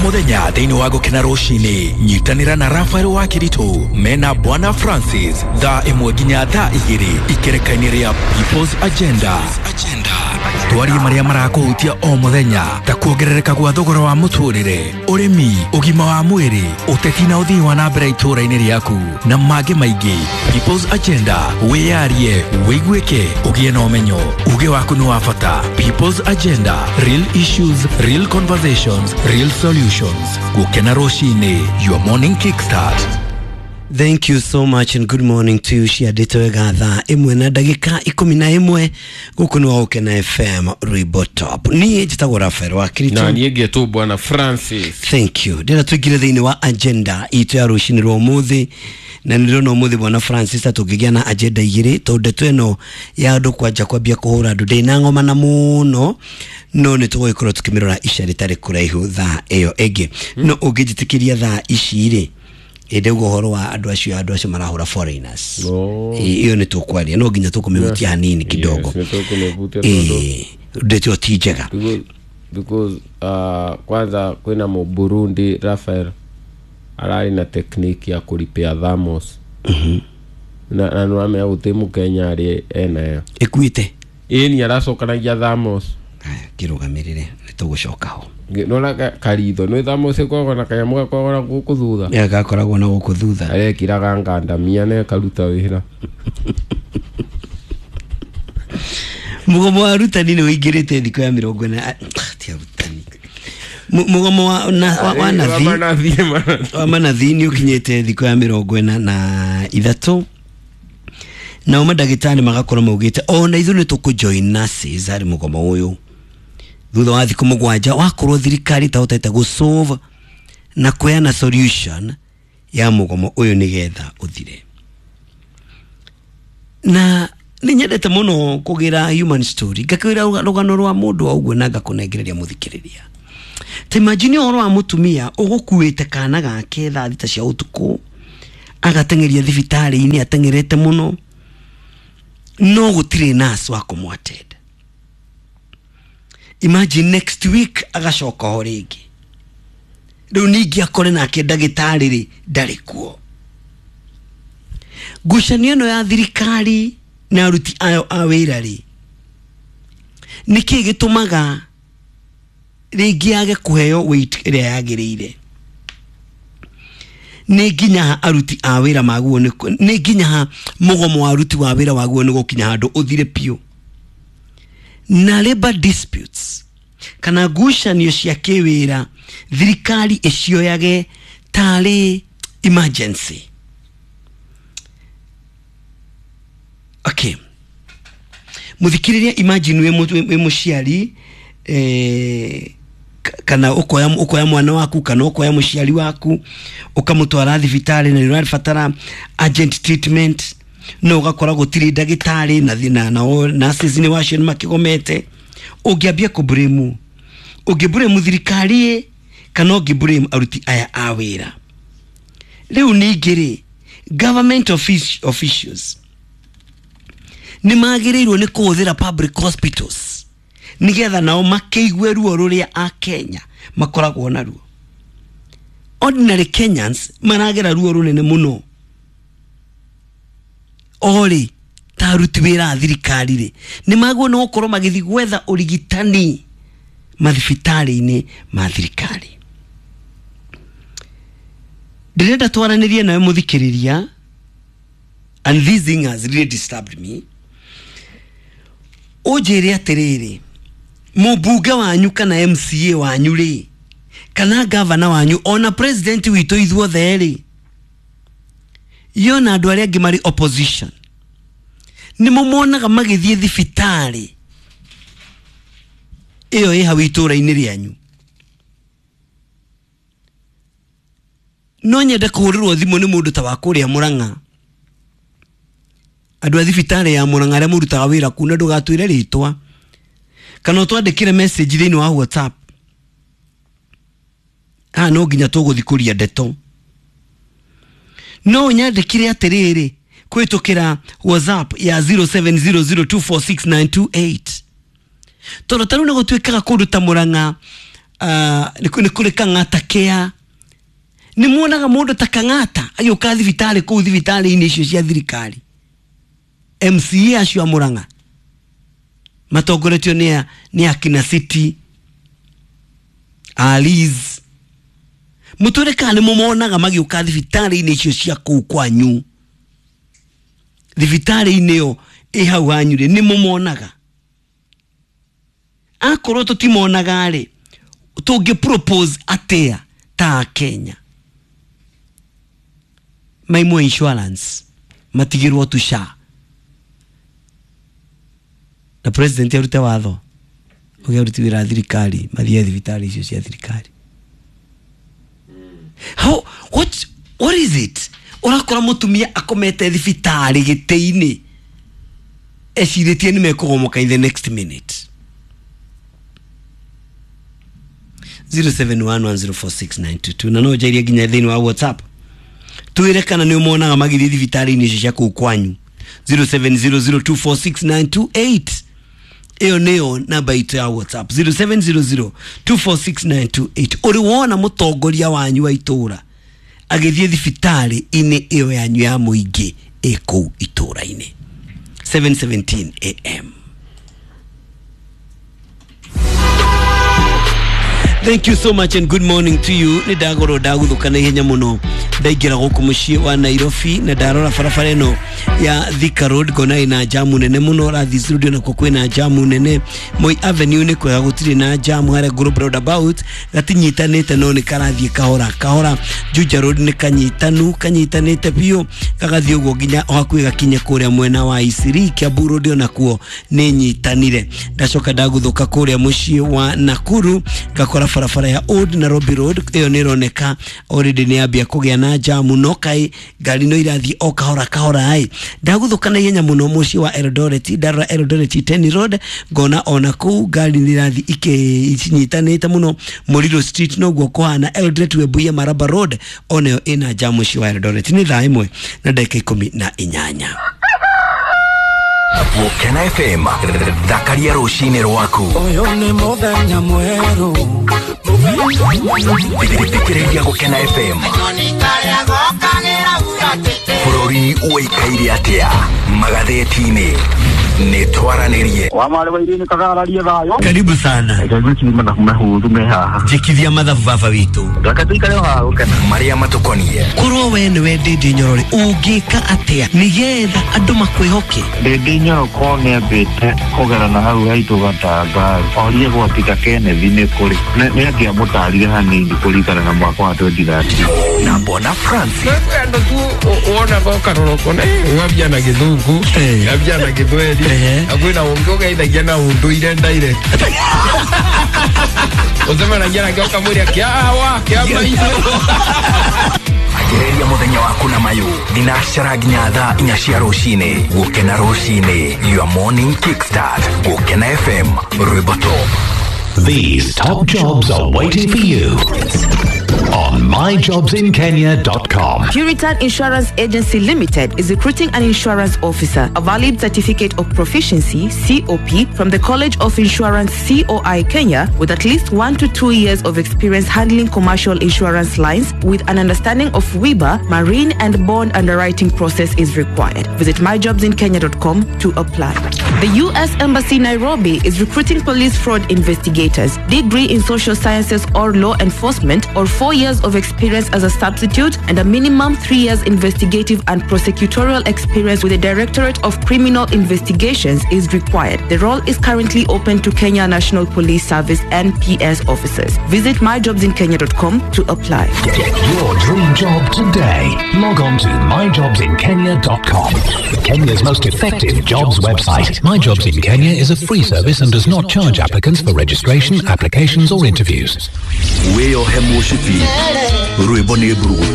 Mũthenya thĩinĩ wa Gũkena Rũcinĩ, nyitanĩra na Rafael wa Kĩritũ mena Bwana Francis thaa 1 nginya thaa 2 ikereka-inĩ rĩa People's Agenda. Twarie marĩa marakũhutia o mũthenya ta kuongerereka gwa thogora wa mũtũrĩre, ũrĩmi, ũgima wa mwĩrĩ, ũteti na ũthii wa na mbere itũũra-inĩ rĩaku na mangĩ maingĩ. People's Agenda, wĩyarie, wĩiguĩke, ũgĩe na ũmenyo. Uge waku nĩ wa bata. People's Agenda, real issues, real conversations, real solutions. Gũkena Rũcinĩ, your morning kickstart. Thank you so much and good morning to you. Ciandĩtwo wega thaa 1 na ndagĩka 11 gũkũ nĩ wa Gũkena FM Rwĩmbo Top. Niĩ njĩtagwo Rafael wa Na Kĩritũ. niĩ ngetwo Bwana Francis. Thank you. Ndĩra tũingĩre thĩinĩ wa agenda itũ ya rũcinĩ rwa ũmũthĩ, na nĩ ndĩrona ũmũthĩ Bwana Francis ta tũngĩgĩa na agenda igĩrĩ, tondũ ndeto ĩno ya andũ kwanja kwambia kũhũra andũ ndĩnang'omana mũno, no nĩ tũgũgĩkorwo tũkĩmĩrora ica rĩtarĩ kũraihu thaa ĩyo ĩngĩ. No ũngĩnjĩtĩkĩria thaa ici rĩ, ndauga ũhoro wa andũ acio marahũra foreigners. Oh. Ĩyo nĩ tũkwaria, no nginya tũkũmĩhutia hanini kidogo. Yes, nĩ tũkũmĩhutia tondũ Ndeto ĩyo ti njega. Because kwanza kwĩna Mũburundi Rafael ararĩ na technique ya kũripĩa thamos na nĩwamenya gũtĩ Mũkenya arĩ enayo. Ĩkuĩte. Ĩni aracokanagia thamos. Aya, kĩrũgamĩrĩre, nĩ tũgũcoka ho. Nona karitho nĩ thamos ĩkoragwo na kanyamũ gakoragwo na gũkũ thutha. Ĩ, gakoragwo na gũkũ thutha. Arekĩraga ngandamia na ĩkaruta wĩra. Mũgomo wa arutani nĩ ũingĩrĩte thikũ ya 40, ti arutani, mũgomo wa nathi. Manathi, manathi. Wa manathi nĩ ũkinyĩte thikũ ya 43, nao mandagĩtarĩ magakorwo maugĩte ona ithuĩ nĩ tũkũ join nurses harĩ mũgomo ũyũ thutha wa thikũ 7 wakorwo thirikari ĩtahotete gũsolve na kũheana solution ya mũgomo ũyũ nĩgetha ũthire. Na nĩ nyendete mũno kũgĩra human story, ngakĩra rũgano rwa mũndũ o ũguo na ngakũnengereria mũthikĩrĩria. Ta imagine ũhoro wa mũtumia ũgũkuĩte kana gake thaa 6 cia ũtukũ, agateng'eria thibitarĩ-inĩ ateng'erete mũno, no gũtirĩ nurse wa kũmũ-attend. Imagine next week agacoka ho rĩngĩ, rĩu ningĩ akore nake ndagĩtarĩ rĩ ndarĩ kuo. Ngucanio ĩno ya thirikari na aruti ayo a wĩra rĩ, nĩkĩ gĩtũmaga rĩngĩ yage kũheo weight ĩrĩa yagĩrĩire? Nĩ nginya ha aruti a wĩra maguo nĩ nginya ha mũgomo wa aruti wa wĩra waguo nĩ gũkinya handũ ũthire biũ? Na labor disputes kana ngucanio cia kĩwĩra thirikari ĩcioyage tarĩ emergency. Okay, muthikiriria, imagine wĩ mũciari, kana ũkoya mwana waku kana ũkoya mũciari waku ũkamũtwara thibitarĩ na nĩ ũrabatara urgent treatment, no ũgakora gũtirĩ ndagĩtarĩ na nao nurses nĩ wacio nĩ makĩgomete. Ũngĩambia kũblame, ũngĩblame thirikari ĩ kana ũngĩblame aruti aya a wĩra? Rĩu ningĩ rĩ, government officials nĩ magĩrĩirwo nĩ kũhũthĩra public hospitals nĩgetha nao makĩigue ruo rũrĩa a Kenya makoragwo naruo. Ordinary Kenyans maragera ruo rũnene mũno. Orĩ ta aruti wĩra a thirikari rĩ, nĩ magwo nĩ gũkorwo magĩthiĩ gwetha ũrigitani mathibitarĩ-inĩ ma thirikari. Ndĩrenda twaranĩrie nawe mũthikĩrĩria, and this thing has really disturbed me. Ũnjĩre atĩrĩrĩ, mũmbunge wanyu kana MCA wanyu rĩ, kana gavana wanyu, ona president witũ, ithuothe rĩ, yona andũ arĩa angĩ marĩ opposition nĩ mũmonaga magĩthiĩ thibitarĩ ĩyo ĩ hau itũũra-inĩ rĩanyu? No nyende kũhũrĩrwo thimũ nĩ mũndũ ta wa kũrĩa Mũrang'a, andũ a thibitarĩ ya Mũrang'a arĩa mũrutaga wĩra kuu, na ndũgatwĩre rĩtwa kana ũtwandĩkĩre message thĩinĩ wa WhatsApp. Haha no nginya tũgũthiĩ kũria ndeto. No ũnyandĩkĩre atĩrĩrĩ kũhĩtũkĩra WhatsApp ya 0700246928, tondũ ta rĩu nĩ gũtuĩkaga kũndũ ta Mũrang'a Nĩ kũrĩ Kang'ata Care. Nĩ muonaga mũndũ ta Kang'ata agĩũka thibitarĩ kũu thibitarĩ-inĩ icio cia thirikari? MCA acio a Murang'a matongoretio nĩ akina City Alice. Mũtwĩre kana nĩ mũmonaga magĩũka thibitarĩ-inĩ icio cia kũu kwanyu, thibitarĩ-inĩ ĩyo ĩ hau hanyu rĩ, nĩ mũmonaga? Akorwo tũtimonaga rĩ, tũngĩ propose atĩa ta Kenya maimwo insurance matigirwo tu SHA na president arute watho uge aruti wĩra a thirikari mathiĩ thibitarĩ icio cia thirikari? How, what is it? Ũrakora mũtumia akomete thibitarĩ gĩtĩ-inĩ ecirĩtie nĩ mekũgomoka in the next minute. 0711046922 na no njairie nginya thĩinĩ wa WhatsApp, twĩre kana nĩ ũmonaga magĩthiĩ thibitarĩ-inĩ icio cia kũu kwanyu. 0700246928, ĩyo nĩyo namba itũ ya WhatsApp, 0700246928. Ũrĩ wona mũtongoria wanyu wa itũra agĩthiĩ thibitarĩ-inĩ ĩyo yanyu ya mũingĩ ĩ kũu itũra-inĩ? 7:17 am. Thank you so much and good morning to you. Nĩ ndagorwo ndaguthuka na ihenya mũno ndaingĩra gũkũ mũciĩ wa Nairobi na ndarora barabara ĩno ya Thika Road, ngona ĩna jamu nene mũno. Rathi Road nakuo kwĩna jamu nene. Moi Avenue nĩ kwega, gũtirĩ na jamu. Harĩa Global Roundabout gatinyitanĩte no nĩ karathiĩ kahora kahora. Juja Road nĩ kanyitanu, kanyitanĩte biũ, gagathiĩ ũguo nginya o hakuhĩ gakinye kũrĩa mwena wa Isiri. Kiambu Road onakuo nĩ nyitanire. Ndacoka ndaguthũka kũrĩa mũciĩ wa Nakuru, ngakora barabara ya Old Nairobi Road ĩyo nĩ ĩroneka already nĩ yambia kũgĩa na jamu, no kaĩ ngari no irathiĩ o kahora kahora. Ĩ ndaguthũka na ihenya mũno mũciĩ wa Eldoret, ndarora Eldoret Iten Road, ngona ona kũu ngari nĩ irathiĩ icinyitanĩte mũno. Mũriro Street noguo kũhana. Eldoret Webuye Maraba Road onayo ĩna jamu mũciĩ wa Eldoret. Nĩ thaa 1:18. Gũkena FM, thakaria rũcinĩ rwaku. Ũyũ nĩ mũthenya mwerũ. Thikĩrĩria Gũkena FM. Bũrũri ũikaire atĩa magathĩti-inĩ? Nĩ twaranĩrie. Wa marĩ wa irini kagararie thayũ. Karibu sana. Reke ngwĩcirie mathabu mahũthũ me haha. Njĩkithia mathabu baba witũ. Reke tũikare o haha gũkena. Marĩa matũkonie. Korwo we nĩwe Ndĩndĩ Nyorore, ũngĩka atĩa nĩgetha andũ makwĩhoke? Ndĩndĩ Nyoroko nĩambĩte kũgera na hau haitũ gatanga orie gwatiga Kenneth nĩ kũrĩ nĩ angĩamũtarire hanini kũringana na mwaka wa 2013. Na Bwana Francis. Andå tu wona gokarora kona ngabia na gĩthũngũ, ngabia na gĩthweri, na kwĩna ũngĩ ũgeithagia na ũndũire direct, ũcemanagia nake ũkamwĩra kĩawa kĩa maitũ. Anjĩrĩria mũthenya waku na mayũ thinacara nginya thaa 4 cia rũcinĩ. Gũkena rũcinĩ, your morning kickstart. Gũkena FM, rwĩmbo top. These top jobs are waiting for you on myjobsinkenya.com. Puritan Insurance Agency Limited is recruiting an insurance officer. A valid certificate of proficiency, COP, from the College of Insurance, COI Kenya, with at least 1 to 2 years of experience handling commercial insurance lines with an understanding of WIBA, marine and bond underwriting process is required. Visit myjobsinkenya.com to apply. The U.S. Embassy Nairobi is recruiting police fraud investigators, degree in social sciences or law enforcement, or 4 years of experience as a substitute and a minimum 3 years investigative and prosecutorial experience with the Directorate of Criminal Investigations is required. The role is currently open to Kenya National Police Service NPS officers. Visit myjobsinkenya.com to apply. Get your dream job today. Log on to myjobsinkenya.com. Kenya's most effective jobs website. My Jobs in Kenya is a free service and does not charge applicants for registration, applications, or interviews. Wĩyohe mũcibi, rwĩmbo nĩ mburugutu.